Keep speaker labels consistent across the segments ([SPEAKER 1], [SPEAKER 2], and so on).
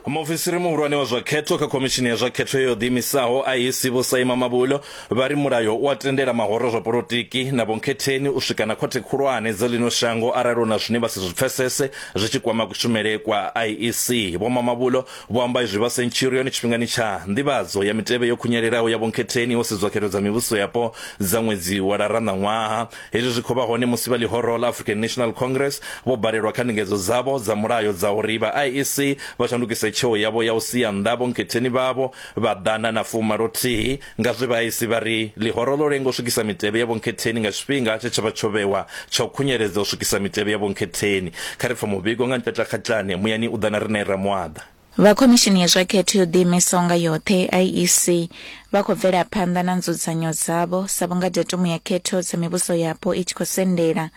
[SPEAKER 1] Muofisiri muhulwane wa zwa khetho kha khomishini ya zwa khetho yo ḓiimisaho IEC Vho Saima Mabulo vha ri mulayo u a tendela mahoro a zwa polotiki na vhonkhetheni u swika na khothe khulwane dza ḽino shango arali hu na zwine vha si zwi pfesese zwi tshi kwama kushumele kwa IEC. Vho Mamabulo vho amba izwi vha Centurion tshifhingani tsha nḓivhadzo ya mitevhe yo khunyelelaho ya vhonkhetheni ho sedzwa khetho dza mivhuso yapo dza ṅwedzi wa Lara ṋaṅwaha. Hezwi zwi khou vha hone musi vha ḽihoro ḽa African National Congress vho balelwa kha ndingedzo dzavho dza mulayo dza uri vha IEC vha shandukise tsheo yavho ya u sia nnḓa vhonkhetheni vhavho vha ḓana na fumalothihi nga zwe vha IEC vha ri ḽihoro ḽo lenga u swikisa mitevhe ya vhonkhetheni nga tshifhinga tshe tsha vha tsho vhewa tsha u khunyeledza u swikisa mitevhe ya vhonkhetheni. Kha ri pfe muvhigo nga Nteta Khatlane, muyani u ḓa na riṋe Ramuaḓa.
[SPEAKER 2] Vha Khomishini ya zwa Khetho yo Ḓiimisaho nga Yoṱhe, IEC, vha khou bvela phanḓa na nzudzanyo dzavho sa vhunga datumu ya khetho dza mivhuso yapo i tshi khou sendela.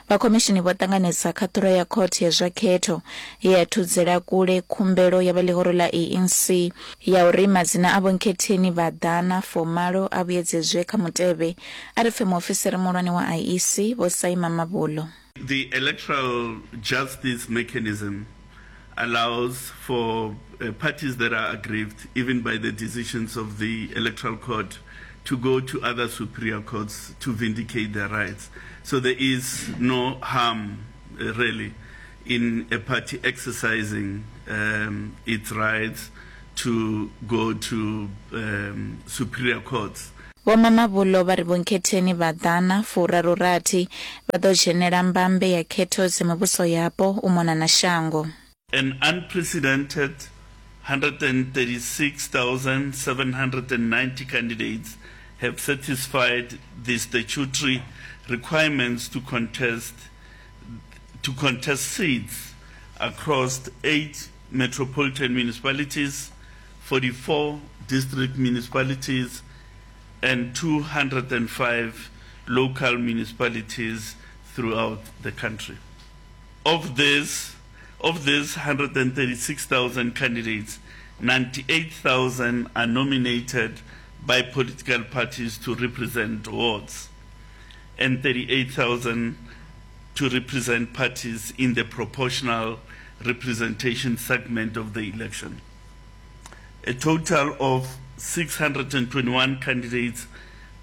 [SPEAKER 2] Vha khomishini vho ṱanganedza khaṱhulo ya khothe ya zwa khetho ye ya thudzela kule khumbelo ya vha ḽihoro ḽa ANC ya uri madzina a vhonkhetheni vha ḓana fumalo a vhuyedzedzwe kha mutevhe, a ri pfe muofisiri muhulwane wa IEC, Vho Sai Mamabolo.
[SPEAKER 3] The electoral justice mechanism allows for uh, parties that are aggrieved, even by the decisions of the electoral court, to go to other superior courts to vindicate their rights. So there is no harm, uh, really, in a party exercising um, its rights to go to um, superior courts.
[SPEAKER 2] Vho Mamabolo vha ri vhonkhetheni vha ḓana furaru rathi vha ḓo dzhenela mbambe ya khetho dza mivhuso yapo u mona na shango.
[SPEAKER 3] An unprecedented 136,790 candidates have satisfied the statutory requirements to contest to contest seats across eight metropolitan municipalities, 44 district municipalities and 205 local municipalities throughout the country. Of this, of these 136,000 candidates, 98,000 are nominated by political parties to represent wards and 38,000 to represent parties in the proportional representation segment of the election. A total of 621 candidates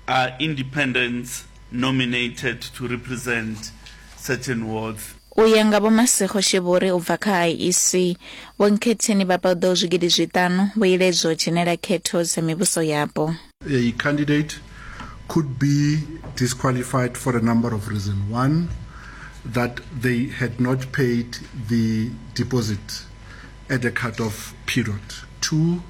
[SPEAKER 3] are independents nominated to represent certain wards.
[SPEAKER 2] U ya nga Vho Masego Sheburi u bva kha IEC, Vho Nkhetheni vha paḓaho zwigidi zwiṱanu vho iledzwa u dzhenela khetho dza mivhuso yapo.
[SPEAKER 4] A candidate could be disqualified for a number of reasons. One, that they had not paid the deposit at the cutoff period. Two,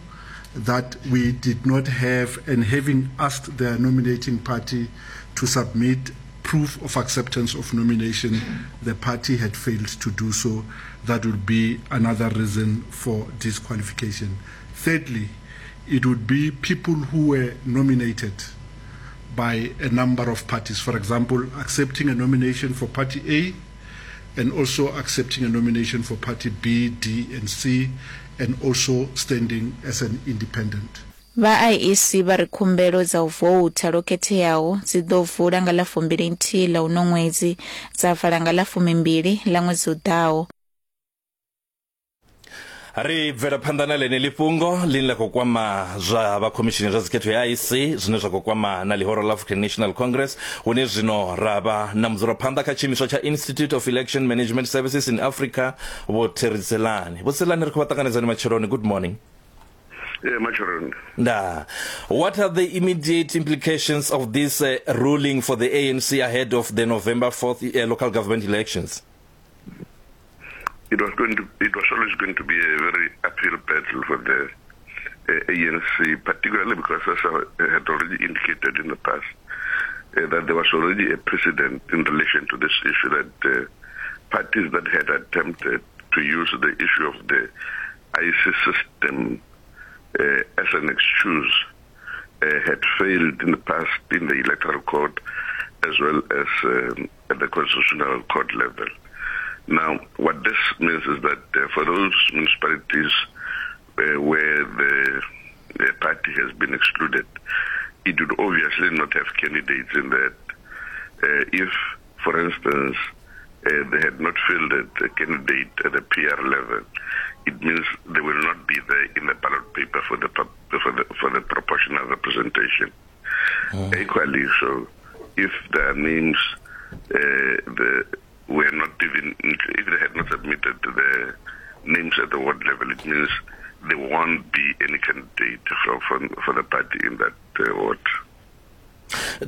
[SPEAKER 4] that we did not have, and having asked the nominating party to submit proof of acceptance of nomination, the party had failed to do so. That would be another reason for disqualification. Thirdly, it would be people who were nominated by a number of parties. For example, accepting a nomination for Party A and also accepting a nomination for Party B, D, and C, and also standing as an independent.
[SPEAKER 2] Vha IEC vha ri khumbelo dza u voutha lwo khetheaho dzi ḓo vula nga ḽa fumbili nthihi ḽa uno ṅwedzi dza vala nga ḽa fumimbili ḽa ṅwedzi u ḓaho.
[SPEAKER 1] Ri bvela phanḓa na ḽeneḽi fhungo ḽine ḽa khou kwama zwa vha khomishini zwa dzikhetho ya IEC zwine zwa khou kwama na ḽihoro ḽa African National Congress hune zwino ra vha na mudzulaphanḓa kha tshiimiswa tsha Institute of Election Management Services in Africa Vho Terry Tselane. Vho Tselane ri khou vha ṱanganedzani matsheloni. Good morning.
[SPEAKER 5] Eh, matsheloni.
[SPEAKER 1] Nda. What are the immediate implications of this ruling for the ANC ahead of the November 4th local government elections?
[SPEAKER 5] It was going to, it was always going to be a very uphill battle for the uh, ANC, particularly because, as I had already indicated in the past, uh, that there was already a precedent in relation to this issue that uh, parties that had attempted to use the issue of the IC system uh, as an excuse uh, had failed in the past in the electoral court as well as um, at the constitutional court level. Now, what this means is that uh, for those municipalities uh, where the, the party has been excluded, it would obviously not have candidates in that. Uh, if, for instance, uh, they had not fielded a candidate at the PR level, it means they will not be there in the ballot paper for the for the for the proportional representation. Mm. Equally, so if their names uh, the, were not even if they had not submitted the names at the ward level, it means there won't be any candidate for for, for the party in that uh, ward.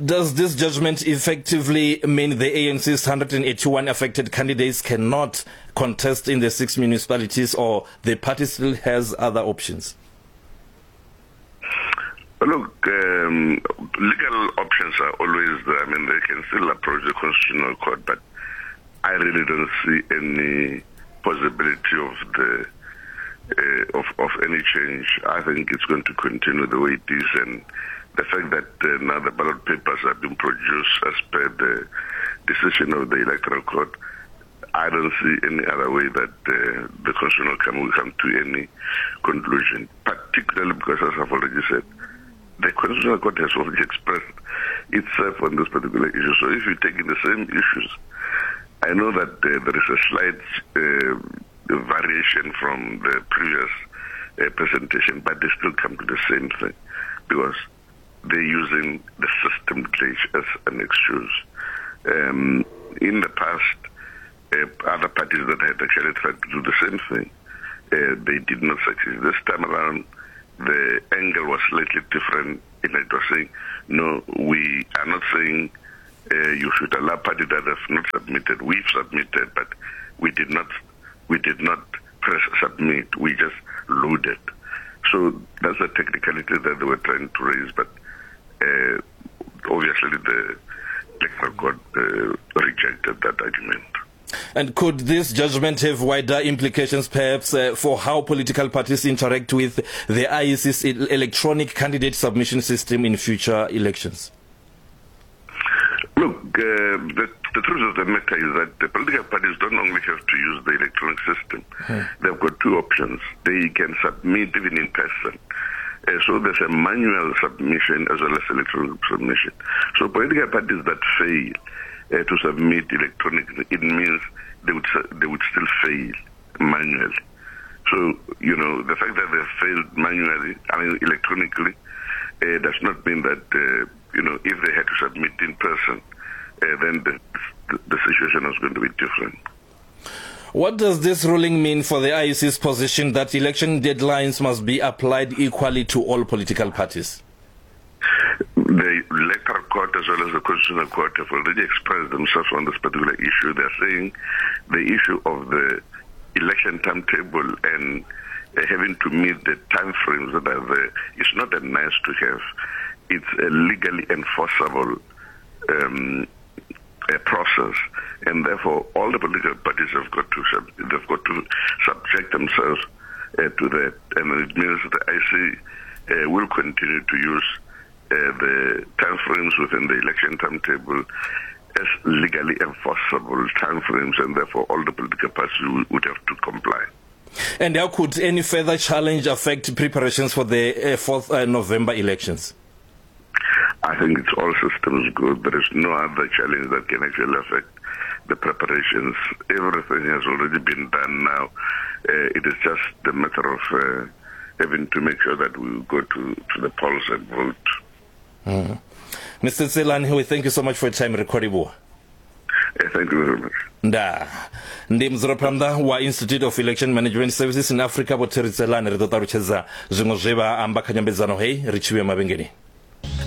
[SPEAKER 1] Does this judgment effectively mean the ANC's 181 affected candidates cannot contest in the six municipalities or the party still has other options?
[SPEAKER 5] Look, um, legal options are always there. I mean, they can still approach the Constitutional Court, but I really don't see any possibility of the uh, of, of any change. I think it's going to continue the way it is, and the fact that uh, now the ballot papers have been produced as per the decision of the Electoral Court, I don't see any other way that uh, the Constitutional Council will come to any conclusion, particularly because, as I've already said, the Constitutional Court has already expressed itself on this particular issue. So if you take in the same issues, I know that uh, there is a slight uh, variation from the previous uh, presentation, but they still come to the same thing because they're using the system glitch as an excuse. Um, in the past, uh, other parties that had actually tried to do the same thing, uh, they did not succeed. This time around, the angle was slightly different in it was saying, no, we are not saying uh, you should allow party that have not submitted. We've submitted, but we did not, we did not press submit. We just loaded. So that's the technicality that they were trying to raise, but uh, obviously the electoral court uh, rejected that argument.
[SPEAKER 1] And could this judgment have wider implications perhaps uh, for how political parties interact with the IEC's electronic candidate submission system in future elections?
[SPEAKER 5] Look, uh, the, the truth of the matter is that the political parties don't only have to use the electronic system. Hmm. They've got two options. They can submit even in person. Uh, so there's a manual submission as well as electronic submission. So political parties that fail uh, to submit electronically, it means they would, they would still fail manually. So, you know, the fact that they failed manually, I mean electronically, uh, does not mean that, uh, you know, if they had to submit in person, uh, then the, the, the situation is going to be different.
[SPEAKER 1] What does this ruling mean for the IEC's position that election deadlines must be applied equally to all political parties?
[SPEAKER 5] The electoral court as well as the constitutional court have already expressed themselves on this particular issue. They're saying the issue of the election timetable and uh, having to meet the time frames that are there is not a nice to have. It's a legally enforceable um, a process, and therefore all the political parties have got to sub- they've got to subject themselves uh, to that, and it means the IC uh, will continue to use uh, the timeframes within the election timetable as legally enforceable timeframes, and therefore all the political parties would have to comply.
[SPEAKER 1] And how could any further challenge affect preparations for the uh, 4th uh, November elections?
[SPEAKER 5] I think it's all systems good. There is no other challenge that can actually affect the preparations. Everything has already been done now. Uh, it is just the matter of uh, having to make sure that we go to, to the polls and vote.
[SPEAKER 1] Mm. Mr. Tselane, we thank you so much for your time. Recording.
[SPEAKER 5] Eh, thank you very much.
[SPEAKER 1] Nda ndi mudzulaphanḓa wa Institute of Election Management Services in Africa Vho Terry Tselane ri ḓo ṱalutshedza zwiṅwe zwe vha amba kha nyambedzano hei ri tshi vhuya mavhengeleni.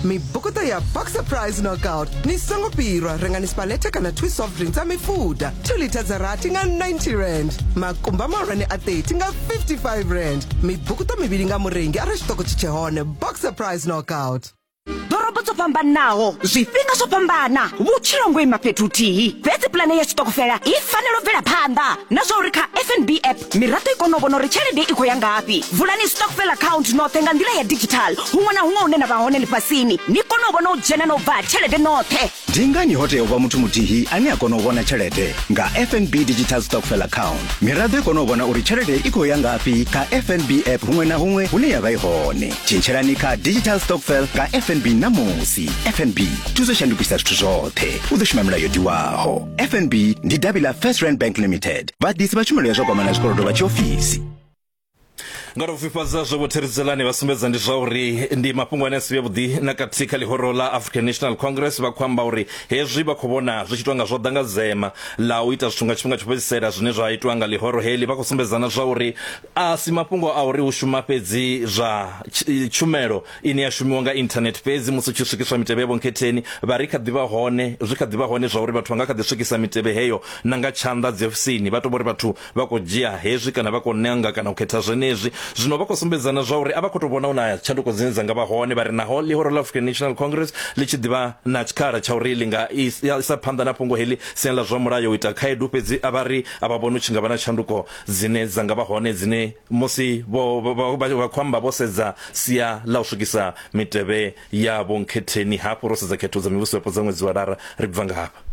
[SPEAKER 6] Mibukuṱo ya Boxer Prize Knockout ni songo fhirwa rengani Spaleta kana Twist soft drink dza mifuda 2 litha dza rathi nga 90 rand makumba mahulwane a 30 nga 55 rand mibukuṱo mivhili nga murengi arali tshiṱoko tshi tshe hone Boxer Prize Knockout.
[SPEAKER 7] Ḓorobo dzo fhambanaho, zwifhinga zwo fhambana, vhutshilo ngo ima fhethu huthihi. Fhedzi pulane ya tshiṱokofela i fanela u bvela phanḓa na zwa uri kha FNB app miraḓo i kone u vhona uri tshelede i khou ya ngafhi. Vulani stokvel account noṱhe nga nḓila ya digital huṅwe na huṅwe hune na vha hone ḽifhasini, ni kone u vhona u dzhena na u bva ha tshelede noṱhe.
[SPEAKER 8] Ndi ngani ho tea u vha muthu muthihi ane a kona u vhona tshelede? Nga FNB Digital Stokvel Account, miraḓo i kona u vhona uri tshelede i khou ya ngafhi kha FNB app huṅwe na huṅwe hune ya vha i hone. Tshintshelani kha Digital Stokvel nga FNB ṋamusi. FNB, thuso shandukisa zwithu zwoṱhe. U ḓo shuma milayo yo tiwaho. FNB ndi davhi ḽa First Rand Bank Limited, vhaḓisi vha tshumelo ya zwa kwamana zwikolodo vha tshiofisi.
[SPEAKER 1] Nga tou fhifhadza zwe vhotheridzelani vha sumbedza ndi zwa uri ndi mafhungo ane a si vhe vhuḓi na kathihi kha ḽihoro ḽa African National Congress. Vha khou amba uri hezwi vha khou vhona zwi tshi itwa nga zwo ḓa nga dzema ḽa u ita zwithu nga tshifhinga tsho fhedzisela zwine zwa itwa nga ḽihoro heḽi. Vha khou sumbedza na zwa uri a si mafhungo a uri hu shuma fhedzi zwa tshumelo ine ya shumiwa nga internet fhedzi musi hu tshi swikiswa mitevhe ya vhonkhetheni. Vha ri kha ḓi vha hone zwi kha ḓi vha hone zwa uri vhathu vha nga kha ḓi swikisa mitevhe heyo na nga tshanḓa dziofisini. Vha tou vha uri vhathu vha khou dzhia hezwi kana vha khou nanga kana u khetha zwenezwi. Zwino vha khou sumbedzana zwa uri a vha khou tou vhona hu na tshanduko dzine dza nga vha hone. Vha ri naho ḽihoro ḽa African National Congress ḽi tshi ḓi vha na tshikhala tsha uri ḽi nga isa phanḓa na fhungo heḽi siani ḽa zwa mulayo u ita khaedu, fhedzi a vha ri a vha vhoni hu tshi nga vha na tshanduko dzine dza nga vha hone dzine musi vho vha khou amba vho sedza sia ḽa u swikisa mitevhe ya vhonkhetheni. Hafhu ro sedza khetho dza mivhuso yapo dza ṅwedzi wa Lara, ri bva nga hafha.